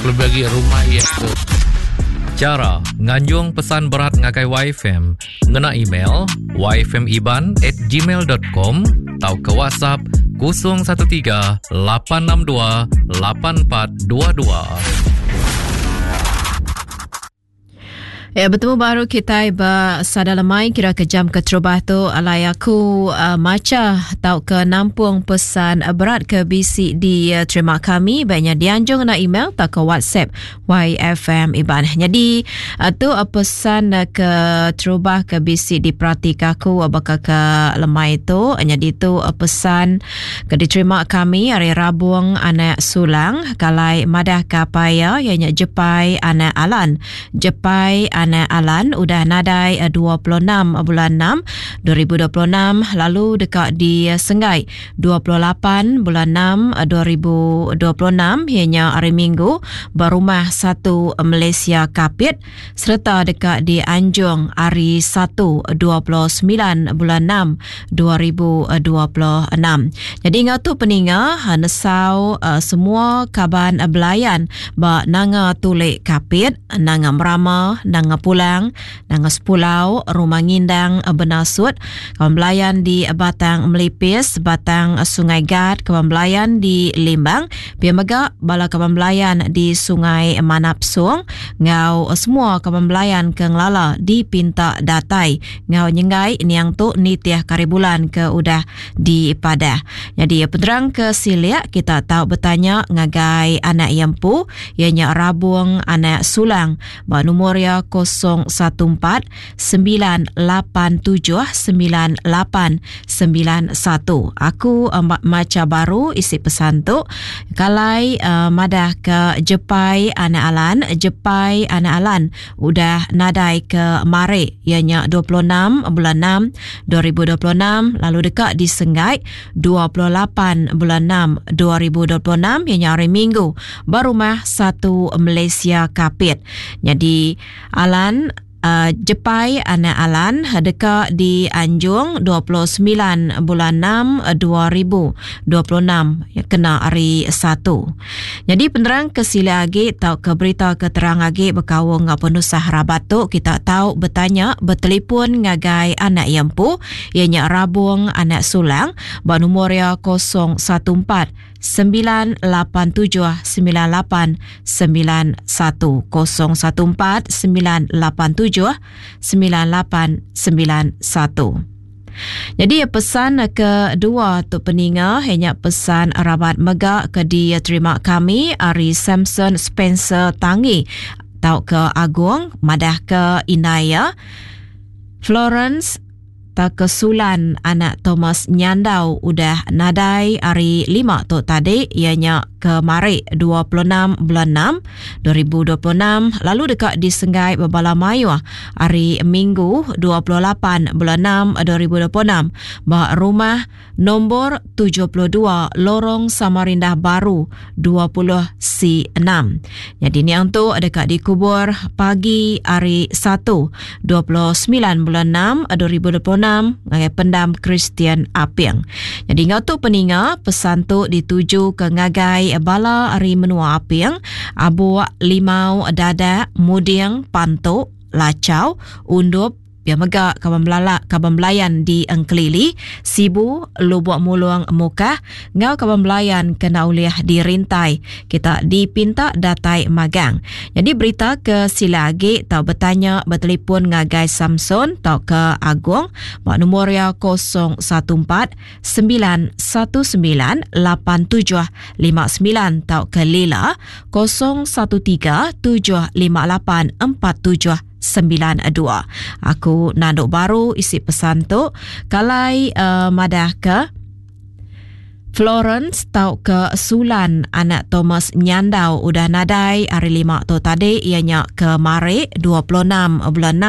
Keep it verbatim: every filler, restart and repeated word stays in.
Lebih lagi rumah iya tu. Chara nganjung pesan berat ngagai Y F M ngena email yfmiban at gmail dot com atau ke WhatsApp kosong satu tiga lapan enam dua lapan empat dua dua. Ya, betemu baru kita ba Sada Lemai kira ke jam keterubah tu alai aku uh, maca tau ke nampung pesan berat ke bisi diterima kami banyak dianjung na email atau ke WhatsApp Y F M Iban. Jadi uh, tu uh, pesan uh, ke terubah ke bisi diperhatikan aku uh, baka ke lemai tu. Jadi tu uh, pesan ke diterima kami hari Rabung anak Sulang kalai madah ke apa ya ianya Jepai anak Alan. Jepai anak Alan udah nadai dua puluh enam bulan enam dua ribu dua puluh enam lalu dekat di Senggai dua puluh lapan bulan enam dua ribu dua puluh enam ianya hari Minggu berumah satu Malaysia Kapit serta dekat di Anjung hari satu dua puluh sembilan bulan enam dua ribu dua puluh enam. Jadi ngau tu peninga nesau uh, semua kaban belayan ba Nanga Tulik Kapit, Nanga Merama, Nanga Pulang, Nanga Sepulau, Rumah Ngindang Benasut, kawan belayan di Batang Melipis, Batang Sungai Gat, kawan belayan di Limbang, pia mega bala kawan belayan di Sungai Manapsung, ngau semua kawan belayan ke ngelala di Pinta Datai, ngau nyenggai niang tu nitiah karibulan ke udah di Padah. Jadi penerang ke siliak kita tahu bertanya ngagai anak yampu ianya Rabung anak Sulang ba nombor ya kosong satu empat sembilan lapan tujuh sembilan lapan sembilan satu. Aku uh, maca baru isi pesan tu kalai uh, madah ke Jepai anak Alan. Jepai anak Alan udah nadai ke mare ianya dua puluh enam bulan enam dua ribu dua puluh enam lalu dekat di Senggai dua puluh lapan bulan enam dua ribu dua puluh enam ianya hari Minggu berumah satu Malaysia Kapit. Jadi Alan uh, Jepai anak Alan deka di Anjung dua puluh sembilan bulan enam dua ribu dua puluh enam ya, kena hari satu. Jadi penerang ke sila agi atau ke berita keterang agi berkawung ngau penusah rabat tu kita tahu bertanya bertelefon ngagai anak yampu ianya Rabung anak Sulang ba nombor ya kosong satu empat sembilan lapan tujuh sembilan lapan sembilan satu kosong satu empat sembilan lapan tujuh sembilan lapan sembilan satu. Jadi pesan kedua tu peninga hanya pesan rabat mega ke diterima kami ari Samson Spencer Tangi tau ke Agung madah ke Inaya Florence tak kesulan anak Thomas Nyandau udah nadai hari lima tu tadi ianya kemari dua puluh enam bulan enam dua ribu dua puluh enam lalu dekat di Senggai Bebala Mayuh hari Minggu dua puluh lapan bulan enam dua ribu dua puluh enam ba rumah nombor tujuh puluh dua Lorong Samarindah Baru dua puluh C enam. Jadi ni yang tu dekat dikubur pagi hari satu dua puluh sembilan bulan enam dua ribu dua puluh enam ngagai pendam Kristian Aping. Jadi ngau tu peninga pesan tu dituju ke ngagai bala hari menua Aping, Abu Limau Dadak, Muding, Pantuk, Lacau, Undup, pia mega kaban belala kaban belayan di Engkelili, Sibu, Lubuk Mulung Mukah, ngau kaban belayan kena uliah dirintai. Kita dipinta datai magang. Jadi berita ke sila agi tau bertanya bertelefon ngagai Samson tau ke Agung bak nombor ya kosong satu empat sembilan satu sembilan lapan tujuh lima sembilan tau ke Lila kosong satu tiga tujuh lima lapan empat tujuh sembilan dua. Aku nanduk baru isi pesan tu kalai uh, madah ke Florence tau ke Sulan anak Thomas Nyandau udah nadai hari lima tu tadi ianya ke Mari dua puluh enam bulan enam.